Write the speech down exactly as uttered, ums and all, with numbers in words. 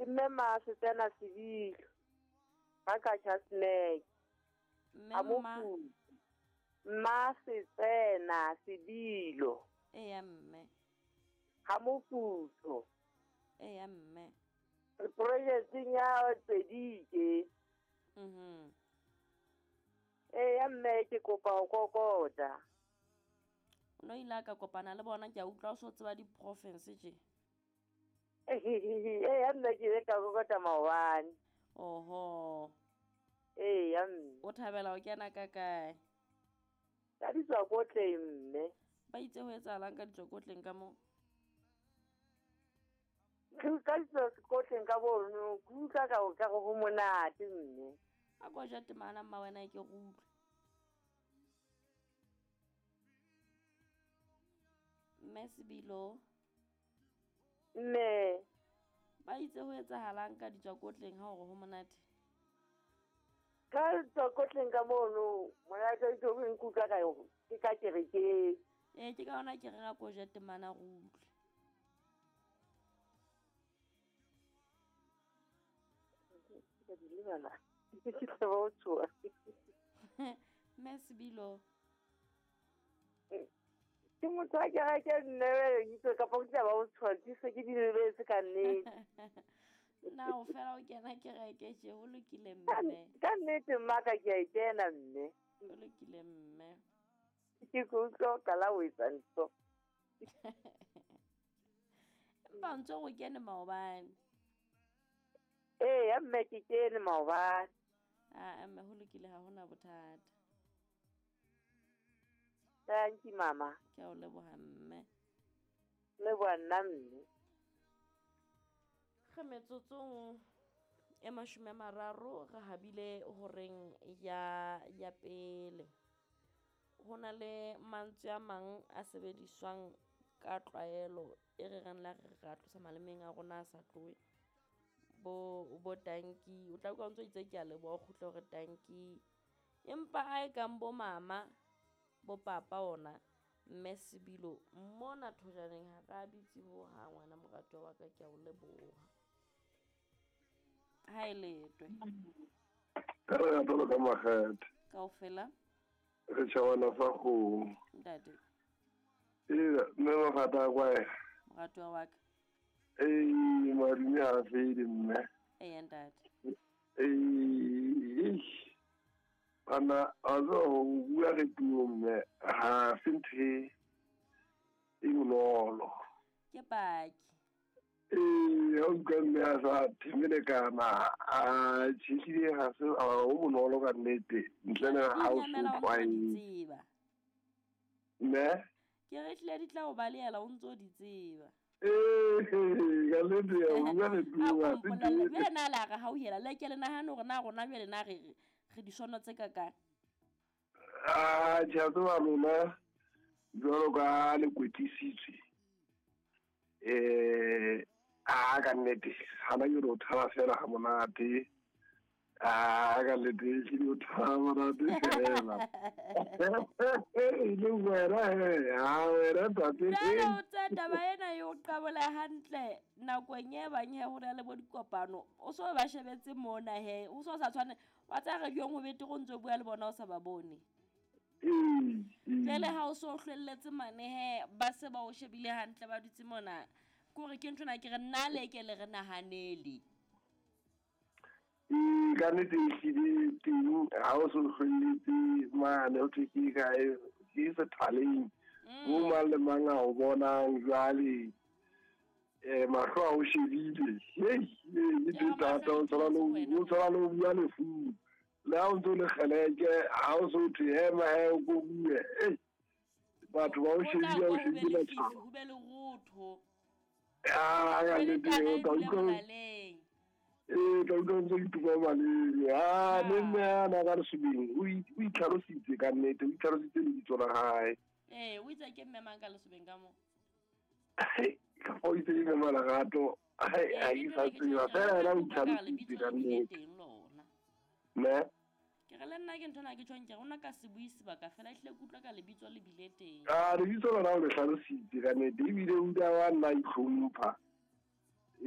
Ke mme Masetsena Sebilo. Ba ka Chasnek. Mme ma Masetsena Sebilo. Eya mme. Ha mofutho. Eya mme. Re projecting ya Tsedike. Mhm. Eya mme ke kopa ho kokota. O no ile ka kopana le bona ke a utlwa o so tseba di province tje. Eya mme ke ile ka kokota maobane. Oho. Eya mme. O thabela ho kena ka kae? Ka ditswakotleng mme. Ba itse ho etsahalang ka ditswakotleng ka moo? Ke ka ditswakotleng ka bono, ke utlwa ka o ka go monate mme. A ko ja temana mma wena ke go utlwe. Mme Sebilo. Mme. Ba itse ho etsahalang ka ditswakotleng ha hore ho monate? Ka ditswakotleng ka mono, monate ke o nkutlwa ka yo, ke ka kerekeng. Eh ke ka ona ke reng a ko ja temana go utlwe. Ke di lebala. Ke tla ba o tswa. Mme Sebilo. Ke motho wa kereke nne itse kapa ke tla ba o tswa ke se ke di lebetse ka nnete. Na o fela o kena kereke tje ho lokile mme. Ka nnete mma ka ke a e kena mme. Ho lokile mme. Ke go utlwa o qala ho etsa ntho. Empa o ntso o kene maobane. Eya mme ke kene maobane. Ah mme ho lokile ha hona bothata. Thank you mama. Ke a o leboha mme. Leboha nna mme. Re metsotsong e mashome a mararo re habile horeng ya ya pele. Ho na le mantswe a mang a sebediswang ka tlwaelo e re reng la re ra tlosa malemeng a rona a sa tlohe. Bo bo tanki o tla utlwa o ntso itse ke a leboha o kgutle hore tanki. Empa a e kang bo mama bo papa ona mme Sebilo mona thojaneng ha ra bitse ho hang ngwana moratuwa wa ka ke a o leboha. Ha e letwe. Ka re atolo ka makgethe. Kaofela. Re tjhawana fa kgomo. Ntate. Ee, mme mafata a kwae. Moratuwa wa ka. Ee, madume ha fele mme. Ee ntate. Ee, bana a tseba ho bua re puo mme ha se ntho e bonolo. Ke paki. Ee, ha utlwa mme a sa themelekana a tjhehlile ha se ho bonolo ka nnete ntle le ha o so tlwaetse. Mme? Ke re hlile di tla o balehela o ntso di tseba. Ee, ka nnete ya ho bua re puo ha se ntho e- Jwale na la re hauhela le ke le nahane hore na rona jwale na re re disono tse kakang. Ah, tjhe, a tseba lona jwalo ka le kwetlisitswe. Eh, ah ka nnete hana ke re o thaba fela ha monate. Ah ka nnete ke o thaba monate fela. E le wena he, ha wena ntate. Jwale o tsa taba ena e o qabola hantle nakong e bang he ho na le bo dikopano. O so ba shebetse mona he, o so sa tshwane wa tsa radiong ho betere o ntso bua le bona o sa ba bone. Ee. Jwale ha o so hlwelletse mane he ba se ba o shebile hantle ba dutse mona. Ke hore ke nthona ke re nna le ke le re nahanele. Ee, ka nnete ehlile teng ha o so hlwelletse mane ho thwe ke kae ke sethaleng. Mo mang le mang a o bonang jwale. Eh mahlo a o shebile. Hei, e Ke thata o tshwana le o tshwana le o bua lefung. Le ha o ntso le kgeleke ha o so thwe ema he o ko bue. Ei, batho ba o shebile o shebile lefifi ho be lerotho. Ah, ka nnete o tla utlwa. Ee, tla utlwa ntse ituma maleme. Ah, le mme ana ka Lesobeng o o itlhalositse ka nnete, o itlhalositse lebitso la hae. Ee, o itse ke mme mang ka Lesobeng ka moo? Ka fa o itse ke mme Malerato, ha ke sa tseba fela yena o itlhalositse ka nnete. Mme? Ke re le nna ke nthona ke tjhong ke re ona ka se bue sebaka fela ehlile ke utlwa ka lebitso le bile teng. Ah, lebitso lona o le hlalositse ka nnete ebile o ile wa nna itlhompha.